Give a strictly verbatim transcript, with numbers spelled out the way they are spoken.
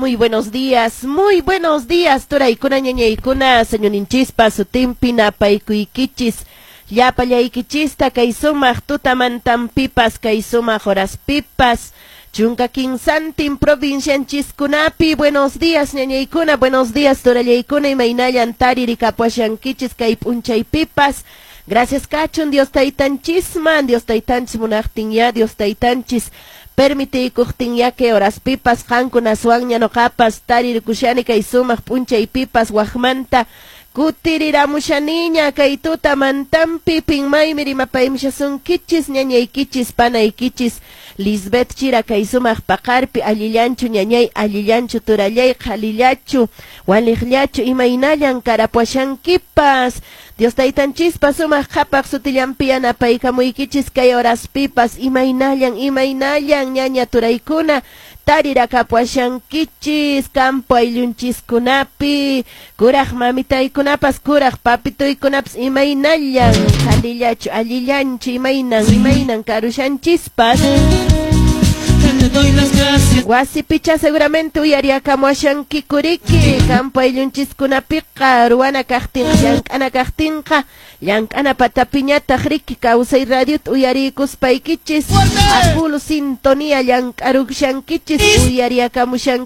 Muy buenos días, muy buenos días, turaykuna, ñañaykuna, Señorninchispa sutinpi napaykuykichis. Llapallaykichista kay sumaq tutamantanpipas, kay sumaq horaspipas. Chunka kinsantin provincianchiskunapi. Buenos días, ñañaykuna, buenos días, turallaykuna, imaynallan taririkapuashankichis kay p'unchaypipas. Gracias kachun Dios taytanchisman, Dios taytanchis munaqtin ya, Dios taytanchis permitiykuqtin ya kay horaspipas qankunaswanña noqapas taririkushani kay sumaq p'unchaypipas waqmanta kutiriramushaniña kay tutamantanpi pinmaymi rimapaymushasunkichis ñañaykichis panaykichis Lisbeth Chira kay sumaq paqarpi. Allillanchu, ñañay? Allillanchu, turallay? Qhalillachu, waliqllachu? Imaynallan karapuashankipas? Dios taytanchispa sumaq qhapaq sutillanpi yanapaykamuykichis kay horaspipas. Imaynallan, imaynallan, ñaña turaykuna, tarirakapuashankichis campo ayllunchiskunapi? Kuraq mamitaykunapas, kuraq papituykunapas, imaynallan? Qhalillachu, allillanchu? Imaynan, imaynan karushanchispas? Te doy las gracias. Wasipicha seguramente uyariakamuashankikuriki. Campo ayllunchiskunapiqa ruwana kaqtinqa, llank'ana kaqtinqa, llank'ana patapiñataq riki Kawsay Radiota uyariykuspaykichis a full sintonía llank'arushankichis, uyariakamushankichis.